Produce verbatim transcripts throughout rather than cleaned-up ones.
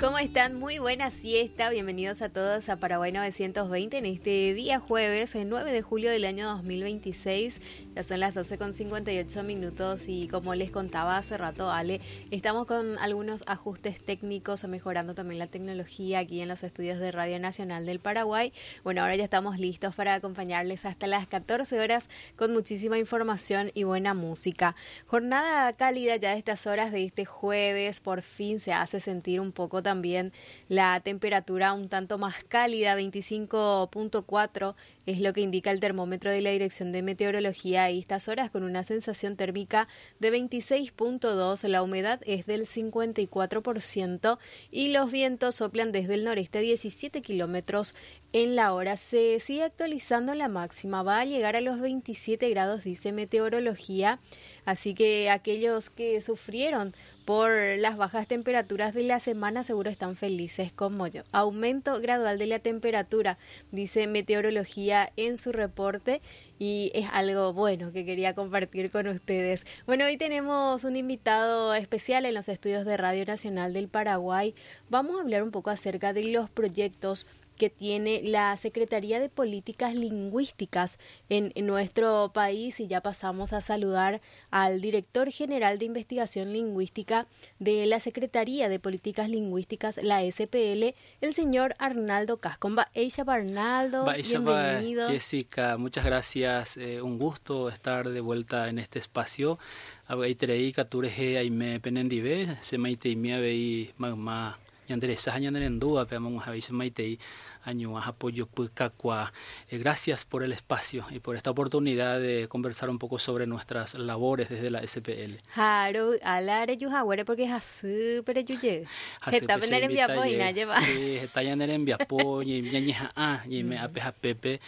¿Cómo están? Muy buena siesta. Bienvenidos a todos a Paraguay novecientos veinte en este día jueves, el nueve de julio del año dos mil veintiséis. Ya son las doce con cincuenta y ocho minutos y como les contaba hace rato, Ale, estamos con algunos ajustes técnicos, mejorando también la tecnología aquí en los estudios de Radio Nacional del Paraguay. Bueno, ahora ya estamos listos para acompañarles hasta las catorce horas con muchísima información y buena música. Jornada cálida ya a estas horas de este jueves, por fin se hace sentir un poco también También la temperatura un tanto más cálida, veinticinco punto cuatro es lo que indica el termómetro de la Dirección de Meteorología a estas horas, con una sensación térmica de veintiséis punto dos, la humedad es del cincuenta y cuatro por ciento y los vientos soplan desde el noreste a diecisiete kilómetros en la hora. Se sigue actualizando la máxima, va a llegar a los veintisiete grados, dice Meteorología, así que aquellos que sufrieron por las bajas temperaturas de la semana seguro están felices como yo. Aumento gradual de la temperatura, dice Meteorología en su reporte, y es algo bueno que quería compartir con ustedes. Bueno, hoy tenemos un invitado especial en los estudios de Radio Nacional del Paraguay. Vamos a hablar un poco acerca de los proyectos que tiene la Secretaría de Políticas Lingüísticas en, en nuestro país, y ya pasamos a saludar al director general de Investigación Lingüística de la Secretaría de Políticas Lingüísticas, la S P L, el señor Arnaldo Cascomba. Eija Arnaldo, bienvenido. Jessica, muchas gracias, eh, un gusto estar de vuelta en este espacio. Abeiterei katureje aime penendive, semaiteimia vei magma ñanderesa ñanderendúa, pe vamos a ver maitei año apoyo pucacua. Eh, gracias por el espacio y por esta oportunidad de conversar un poco sobre nuestras labores desde la S P L. Jaro, alare yujahuere porque es así, pero yuye. Está pener en viapo y nadie va. Sí, está ñaner en viapo y ñañeja a y me apeja pepe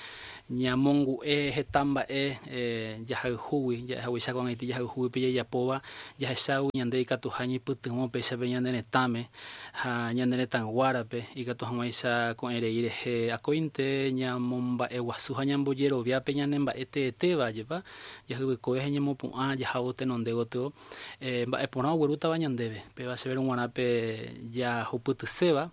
ñamongu e hetamba e yahauhui yahahuisa con eti yahahui pe yapoba yahesau ñande ikatuhañi pytyvõ péicha pe ñane retãme ha ñane retãyguárape ikatuhag̃uáicha ko'ẽrei rehe akóinte ñamomba'eguasu ha ñambojeroviápe ñane mba'eteetéva jepa jahyvykói ha ñamopu'ã jahávo tenonde gotyo mba'eporã oguerútava ñandéve péva chéve g̃uarãpe jahupytyséva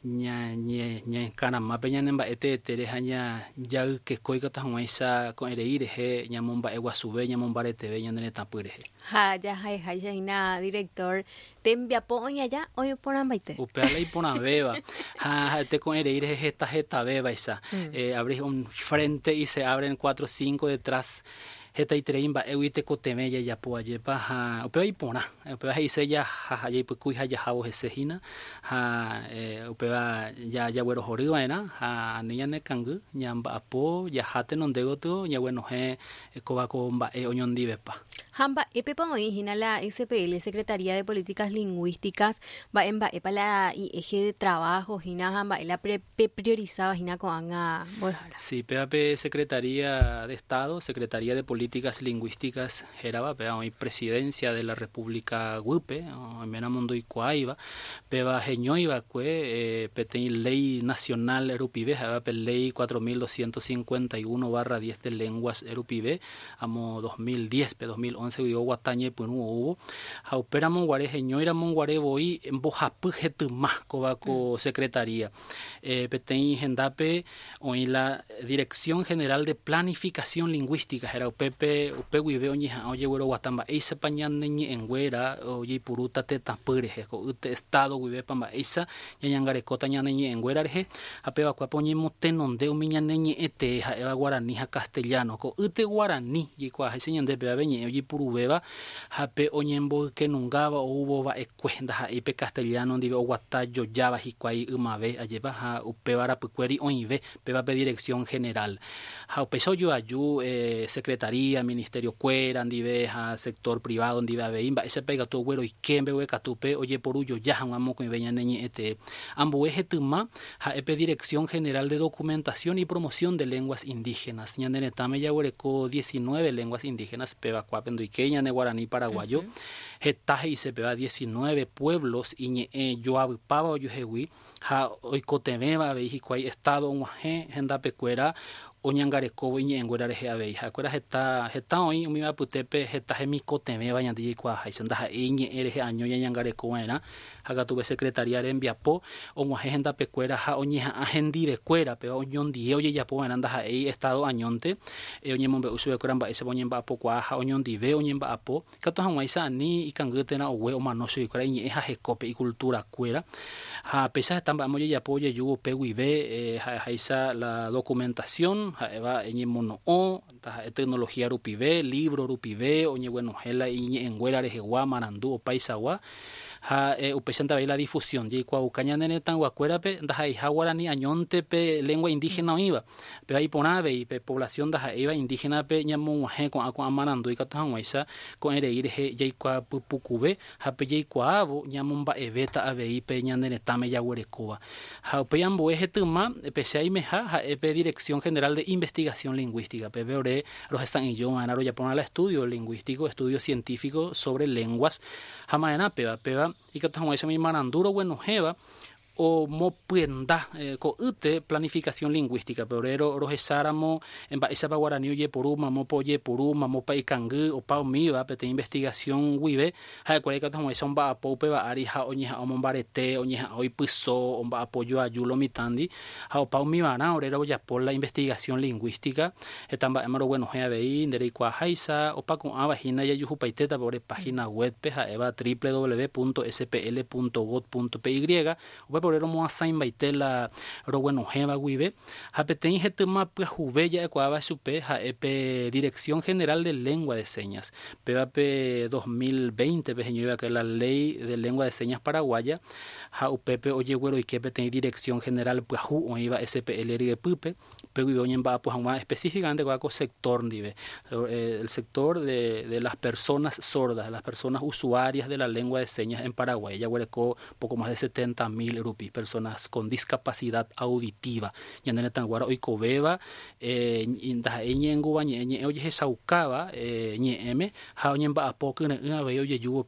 ña ñe ñaenkarãmápe ñane mba'eteetére ha ña jaykekói ikatuhag̃uáicha ko'ẽrei rehe ñamomba'eguasuve ñamombareteve ñane retãpy rehe. Ha jahaeháicha director tembiapo oñalla oiporãmbaite. Upéva iporãvéva ha ha'ete ko'ẽrei rehe heta hetavévaicha. Eh, abrís un frente y se abren cuatro o cinco detrás. Hetaiterei mba'égui tekotevẽ jajapo ajépa ha upéva iporã, upéva he'ise jaha jaipykúi ha jahávo hese hína ha eh, upéva jaguerohoryva'erã ha ani ñanekangy ñamba'apo jaha tenonde gotyo ñaguenohẽ kóva ko mba'e oñondivepa. Ha mba'épepa oĩ hína la S P L, Secretaría de Políticas Lingüísticas, mba'e mba'épa la eje de trabajo hína ha mba'e la pre, pe priorizaba hína ko'ág̃a mbo'ehára. Sí, pévape Secretaría de Estado, Secretaría de Políticas Lingüísticas hérava, péva oĩ Presidencia de la República guýpe, oiména mondoikuaáiva, péva heñóiva'ekue eh, peteĩ ley nacional rupive, ha'éva pe ley cuatro mil doscientos cincuenta y uno barra diez de lenguas rupive, amo dos mil diez, pe dos mil once guive oguata ñepyrũ oúvo, ha upéramo guare heñóiramo guare voi mbohapy hetyma kóva ko secretaría. Eh, peteĩ hendápe oĩ la Dirección General de Planificación Lingüística, héra upépe upe guive oñeha'ã ojegueroguata mba'éichapa ñane ñe'ẽnguéra ojeipurúta tetãpy rehe, ko'ýte Estado guivépa mba'éicha ñañangarekóta ñane ñe'ẽnguéra rehe, ha pévakuápe oñemotenonde umi ñane ñe'ẽtee ha'éva guarani ha castellano, ko'ýte guarani jaikuaaháicha ñande pévape ñe'ẽ ojepuruvéva ha pe oñemboykenungáva oúvo va'ekue ndaha'éi pe castellano ndive oguata jojáva hikuái ymave ajépa ha upéva rapykuéri oĩve pévape Dirección General ha upéicha ojoaju eh, Secretaría, Ministerio kuéra ndive ha sector privado ndive avei mba'éichapa ikatu ogueroike mbeguekatúpe ojeporujoja hag̃ua mokõive ñane ñe'ẽtee. Ambue hetyma ha'épe Dirección General de Documentación y Promoción de Lenguas Indígenas. Ñane retãme jaguereko diecinueve lenguas indígenas péva kuápe ndoikéi ñane guarani paraguayo. Uh-huh. Heta he'ise péva diecinueve pueblos iñe'ẽ joavypáva ojuehegui ha oikotevẽva avei hikuái Estado og̃uahẽ hendapekuéra Oñangarekóvo iñe'ẽnguéra rehe avei ha'ekuéra heta heta oĩ umi apytépe heta hemikotevẽva ñande jaikuaaháicha ndaha'éi ñe'ẽ rehe año ñañangarekova'erã ha katu pe secretaría rembiapo og̃uahẽ hendapekuéra ha oñeha'ã hendivekuéra péva oñondie ojejapova'erã ndaha'éi estado añónte eh, oñemombe'u chupekuéra mba'éichapa oñemba'apokuaa ha oñondive oñemba'apo katu hag̃uáicha ani ikangy térã ogue omano chuguikuéra iñe'ẽ ha hekópe iculturakuéra ha péicha heta mba'e ojejapo ojeju upe guive eh, ha'eháicha la documentación ha'éva ñemono'õ taha'e tecnología rupive libro rupive oñeguenohẽ la iñe'ẽnguéra rehegua marandu opaichagua ha eh, upéichante avei la difusión jaikuaauka ñane retãyguakuérape ndaha'eiha guarani añónte pe lengua indígena oĩva péva iporã avei pe población ndaha'éiva indígenape ñamog̃uahẽ ko'ã ko'ã marandu ikatu hag̃uáicha ko'ẽrei rehe jaikuaapypukuve ha pe jaikuaávo ñamomba'evéta avei pe ñane retãme jaguerekóva ha upéi ambue hetyma pe che aimeha ha'e pe Dirección General de Investigación Lingüística pépe ore rohesa'ỹijova'erã rojapova'erã la estudio lingüístico, estudio científico sobre lenguas ha ma'erã péva péva ikatu hag̃uáicha umi marandu roguenohẽva omopyenda eh, ko'ýte planificación lingüística pe ore rohecháramo mba'éichapa guarani ojeporu mamópa ojeporu mamópa ikangy opa umíva peteĩ investigación guive ha'ekuéra ikatu hag̃uáicha omba'apo upéva ári ha oñeha'ã omombarete oñeha'ã oipyso omba'apo joaju lo mitãndi ha opa umivarã ore rojapo la investigación lingüística heta mba'éma roguenohẽ avei ndereikuaaháicha opa ko'ãva hína jajuhupaitéta ore página web-pe ha'éva w w w punto s p l punto gob punto p y upépe ore romoasãimbaite la roguenohẽva guive ha peteĩ hetyma pyahuve ja'ekuaáva chupe ha'e pe Dirección General de Lengua de Señas péva pe dos mil veinte pe heñóiva la Ley de Lengua de Señas Paraguaya ha upépe ojegueroike peteĩ Dirección General pyahu oĩva S P L ryepýpe pe guive oñemba'apo hag̃ua específicamente kóa ko sector ndive, eh, el sector de, de las personas sordas, las personas usuarias de la lengua de señas en Paraguay. Jaguereko poco más de setenta mil rupi personas con discapacidad auditiva ñane retãyguára oikovéva eh, ndaha'éi ñe'ẽnguva ñe'ẽ ñe'ẽ ojehechaukáva eh, ñe'ẽme ha oñemba'apo kyre'ỹ avei ojejúvo.